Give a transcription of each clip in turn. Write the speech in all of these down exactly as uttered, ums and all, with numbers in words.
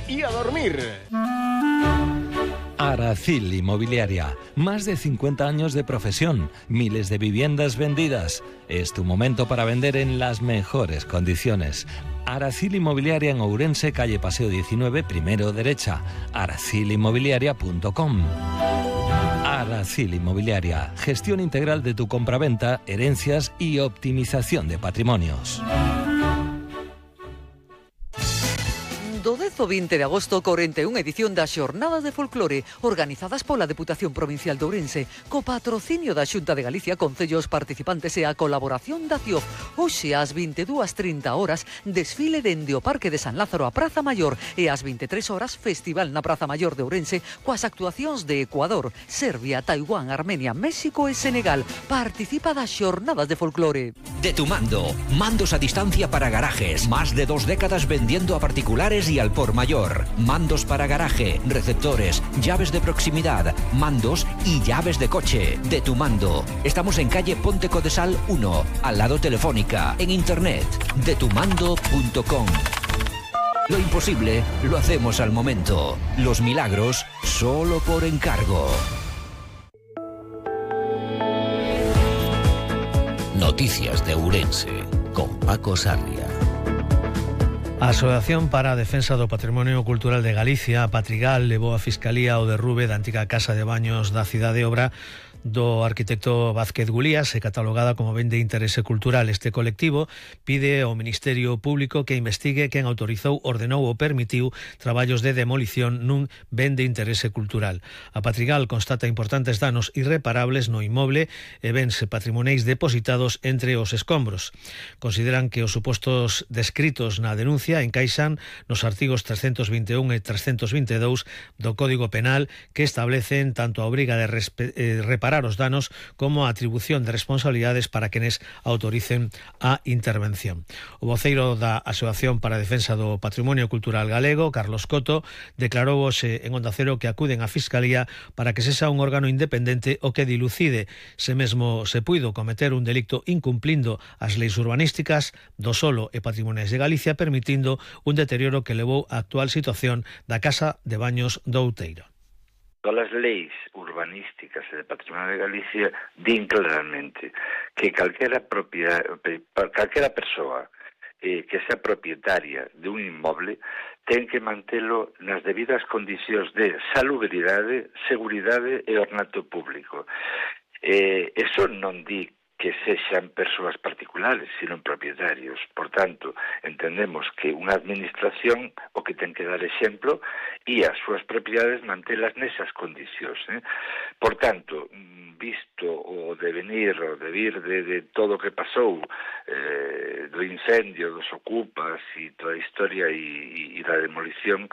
Y a dormir. Aracil Inmobiliaria. Más de cincuenta años de profesión, miles de viviendas vendidas. Es tu momento para vender en las mejores condiciones. Aracil Inmobiliaria en Ourense, calle Paseo diecinueve, primero derecha. aracil inmobiliaria punto com. Aracil Inmobiliaria. Gestión integral de tu compraventa, herencias y optimización de patrimonios. Do dez ao vinte de agosto, corrente unha edición das Xornadas de Folclore, organizadas pola Deputación Provincial de Ourense, co patrocinio da Xunta de Galicia, concellos participantes e a colaboración da C I O F. Hoxe, ás vinte e dúas trinta horas, desfile dende o Parque de San Lázaro a Praza Maior e ás vinte e tres horas, festival na Praza Maior de Ourense coas actuacións de Ecuador, Serbia, Taiwán, Armenia, México e Senegal. Participa das Xornadas de Folclore. De tu mando, mandos a distancia para garajes, más de dos décadas vendiendo a particulares y al por mayor, mandos para garaje, receptores, llaves de proximidad, mandos y llaves de coche. De tu mando. Estamos en calle Ponte Codesal uno, al lado Telefónica, en internet, de tu mando punto com. Lo imposible lo hacemos al momento. Los milagros solo por encargo. Noticias de Ourense con Paco Sarria. A Asociación para a Defensa do Patrimonio Cultural de Galicia, a Patrigal, levou a Fiscalía ao derrube da antiga Casa de Baños da Cidade Obra do arquitecto Vázquez Gulías e catalogada como ben de interese cultural. Este colectivo pide ao Ministerio Público que investigue quen autorizou, ordenou ou permitiu traballos de demolición nun ben de interese cultural. A Patrigal constata importantes danos irreparables no inmoble e bens patrimoneis depositados entre os escombros. Consideran que os supostos descritos na denuncia encaixan nos artigos trescentos vinte e un e trescentos vinte e dous do Código Penal, que establecen tanto a obriga de eh, reparar os danos como a atribución de responsabilidades para quenes autoricen a intervención. O voceiro da Asociación para a Defensa do Patrimonio Cultural Galego, Carlos Coto, declarou hoxe en Onda Cero que acuden á Fiscalía para que sexa un órgano independente o que dilucide se mesmo se puido cometer un delicto incumplindo as leis urbanísticas do solo e patrimoniais de Galicia, permitindo un deterioro que levou á actual situación da Casa de Baños do Outeiro. Todas as leis urbanísticas e de patrimonio de Galicia din claramente que calquera propiedade, calquera persoa eh, que sea propietaria de un inmoble ten que mantelo nas debidas condicións de salubridade, seguridade e ornato público. Eh, eso non di que sexan persoas particulares, sino propietarios. Por tanto, entendemos que unha administración o que ten que dar exemplo e as súas propiedades mantelas nesas condicións. Eh? Por tanto, visto o devenir, o devir de, de todo o que pasou, eh, do incendio, dos ocupas e toda a historia e, e da demolición,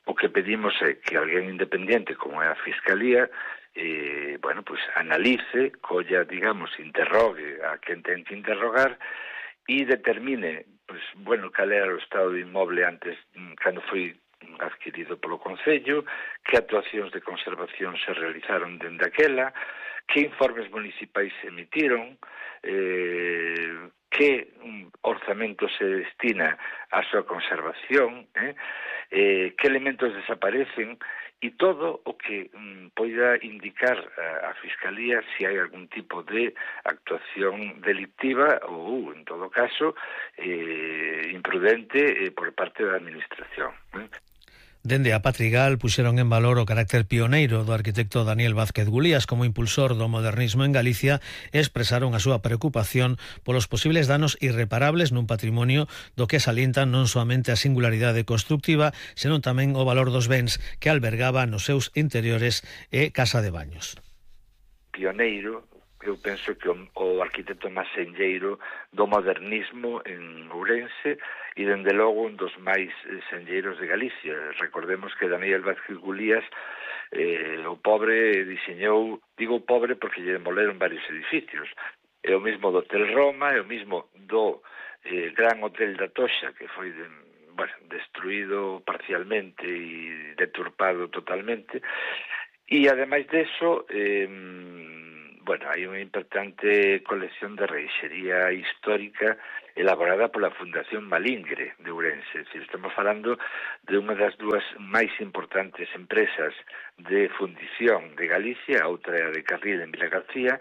o que pedimos é que alguén independiente, como é a Fiscalía, Eh, bueno, pues analice, colla, digamos, interrogue a quen ten que interrogar e determine, pues, bueno, cal era o estado do inmoble antes, cando foi adquirido polo Concello, que actuacións de conservación se realizaron dende aquela, que informes municipais se emitiron, eh, que orzamento se destina á súa conservación, eh, eh, que elementos desaparecen, e todo o que mm, poida indicar a, a Fiscalía se hai algún tipo de actuación delictiva ou, en todo caso, eh, imprudente eh, por parte da Administración. Eh. Dende a Patrigal puxeron en valor o carácter pioneiro do arquitecto Daniel Vázquez Gulías como impulsor do modernismo en Galicia e expresaron a súa preocupación polos posibles danos irreparables nun patrimonio do que salientan non soamente a singularidade constructiva, senón tamén o valor dos bens que albergaba nos seus interiores e casa de baños. Pioneiro, eu penso que o, o arquitecto máis senlleiro do modernismo en Ourense e, dende logo, un dos máis senlleiros de Galicia. Recordemos que Daniel Vázquez Gulías, eh, o pobre, diseñou, digo pobre porque lle demoleron varios edificios. É o mismo do Hotel Roma, é o mismo do eh, Gran Hotel da Toxa, que foi de, bueno, destruído parcialmente e deturpado totalmente. E, ademais deso, eh, bueno, hai unha importante colección de reixería histórica elaborada pola Fundación Malingre de Ourense. É dicir, estamos falando de unha das dúas máis importantes empresas de fundición de Galicia, a outra é a de Carril en Vila García,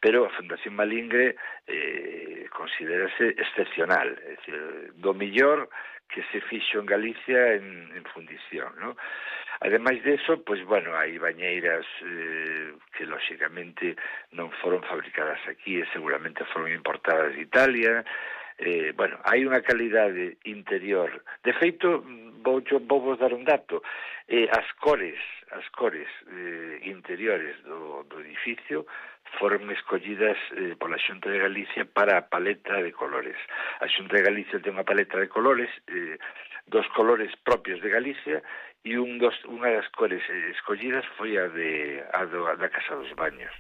pero a Fundación Malingre eh, considérase excepcional, é dicir, do millor que se fixo en Galicia en, en fundición, ¿no? Ademais deso, pois, bueno, hai bañeiras eh, que, lóxicamente, non foron fabricadas aquí e seguramente foron importadas de Italia. Eh, bueno, hai unha calidade interior. De feito, vou, vou vos dar un dato. Eh, as cores, as cores eh, interiores do, do edificio foron escollidas eh, pola Xunta de Galicia para a paleta de colores. A Xunta de Galicia ten unha paleta de colores, eh, dos colores propios de Galicia, e un dos, unha das cores escollidas foi a, de, a, do, a da Casa dos Baños.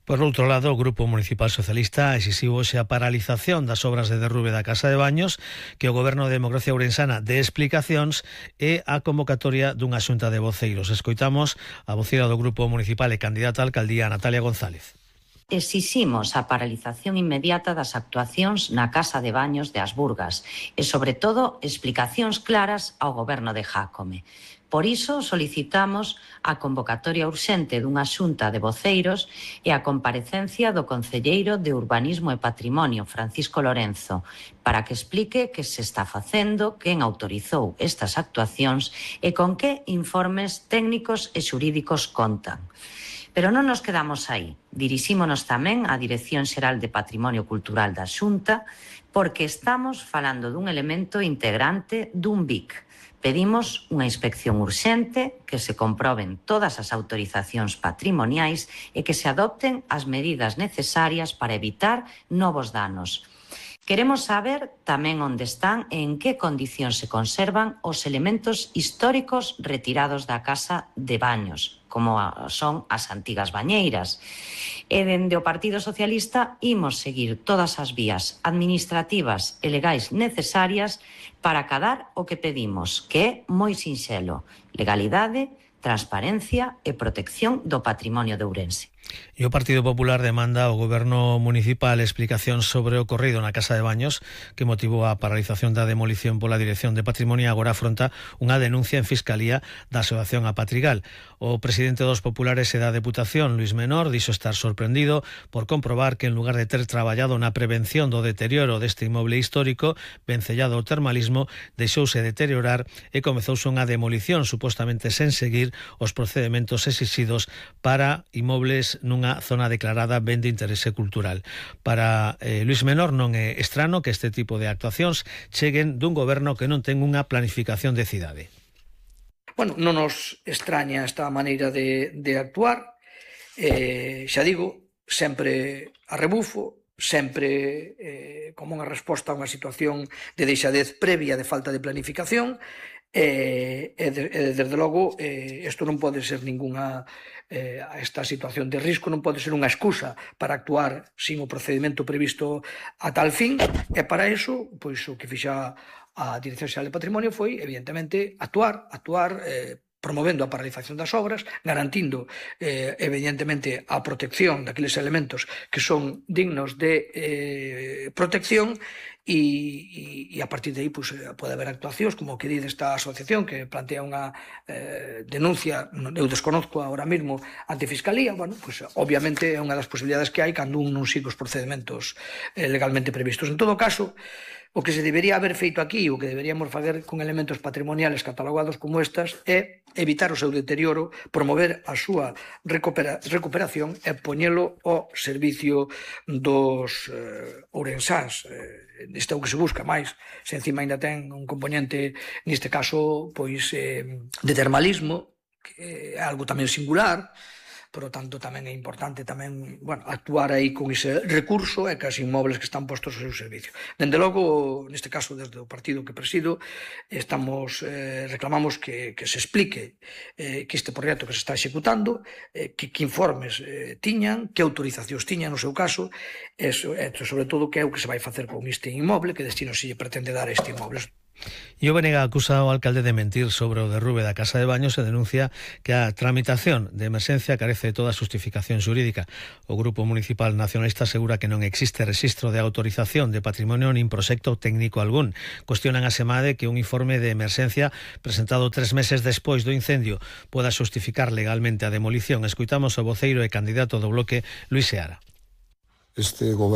Por outro lado, o Grupo Municipal Socialista exixiu hoxe a paralización das obras de derrube da Casa de Baños, que o Goberno de Democracia Ourensana dé explicacións e a convocatoria dunha xunta de voceiros. Escoitamos a voceira do Grupo Municipal e candidata a alcaldía, Natalia González. Exiximos a paralización inmediata das actuacións na Casa de Baños de As Burgas e, sobre todo, explicacións claras ao Goberno de Jácome. Por iso, solicitamos a convocatoria urxente dunha xunta de voceiros e a comparecencia do Concelleiro de Urbanismo e Patrimonio, Francisco Lorenzo, para que explique que se está facendo, quen autorizou estas actuacións e con que informes técnicos e xurídicos contan. Pero non nos quedamos aí. Dirixímonos tamén á Dirección Xeral de Patrimonio Cultural da Xunta, porque estamos falando dun elemento integrante dun B I C. Pedimos unha inspección urxente, que se comproben todas as autorizacións patrimoniais e que se adopten as medidas necesarias para evitar novos danos. Queremos saber tamén onde están e en que condicións se conservan os elementos históricos retirados da Casa de Baños, como son as antigas bañeiras. E dende o Partido Socialista imos seguir todas as vías administrativas e legais necesarias para acadar o que pedimos, que é moi sinxelo: legalidade, transparencia e protección do patrimonio de Ourense. E o Partido Popular demanda ao Goberno Municipal explicación sobre o ocorrido na Casa de Baños, que motivou a paralización da demolición pola Dirección de Patrimonio, e agora afronta unha denuncia en Fiscalía da Asociación A Patrigal. O presidente dos Populares e da Deputación, Luís Menor, dixo estar sorprendido por comprobar que, en lugar de ter traballado na prevención do deterioro deste inmoble histórico vencellado ao termalismo, deixouse deteriorar e comezouse unha demolición supostamente sen seguir os procedementos exixidos para inmobles nunha zona declarada ben de interese cultural. Para eh, Luís Menor non é estrano que este tipo de actuacións cheguen dun goberno que non ten unha planificación de cidade. Bueno, non nos extraña esta maneira de, de actuar, eh, xa digo, sempre a rebufo, sempre eh, como unha resposta a unha situación de deixadez previa de falta de planificación. E, e, de, e desde logo eh, isto non pode ser ninguna eh, esta situación de risco non pode ser unha excusa para actuar sin o procedimento previsto a tal fin, e para iso pois o que fixa a Dirección Xeral de Patrimonio foi evidentemente actuar actuar eh, promovendo a paralización das obras, garantindo eh, evidentemente a protección daqueles elementos que son dignos de eh, protección. E, e, e a partir de aí pues, pode haber actuacións como que di desta asociación que plantea unha eh, denuncia, eu desconozco ahora mesmo, ante Fiscalía. Bueno, pues, obviamente é unha das posibilidades que hai cando un non sigue os procedimentos eh, legalmente previstos. En todo caso, o que se debería haber feito aquí, o que deberíamos fazer con elementos patrimoniales catalogados como estas, é evitar o seu deterioro, promover a súa recupera, recuperación e poñelo ao servicio dos eh, ourensáns. Eh, isto é o que se busca máis. Se encima ainda ten un componente, neste caso, pois eh, de termalismo, que é algo tamén singular. Por lo tanto, tamén é importante tamén, bueno, actuar aí con ese recurso e que as inmobles que están postos ao seu servicio. Dende logo, neste caso, desde o partido que presido, estamos eh, reclamamos que, que se explique eh, que este proxecto que se está executando, eh, que, que informes eh, tiñan, que autorizacións tiñan no seu caso, e, e sobre todo que é o que se vai facer con este inmoble, que destino se lle pretende dar a este inmoble. E o B N G acusa ao alcalde de mentir sobre o derrube da casa de baños e denuncia que a tramitación de emerxencia carece de toda xustificación xurídica. O Grupo Municipal Nacionalista asegura que non existe rexistro de autorización de patrimonio nin proxecto técnico algún. Cuestionan a SEMADE que un informe de emerxencia presentado tres meses despois do incendio poda xustificar legalmente a demolición. Escoitamos o voceiro e candidato do Bloque, Luís Seara. Este goberno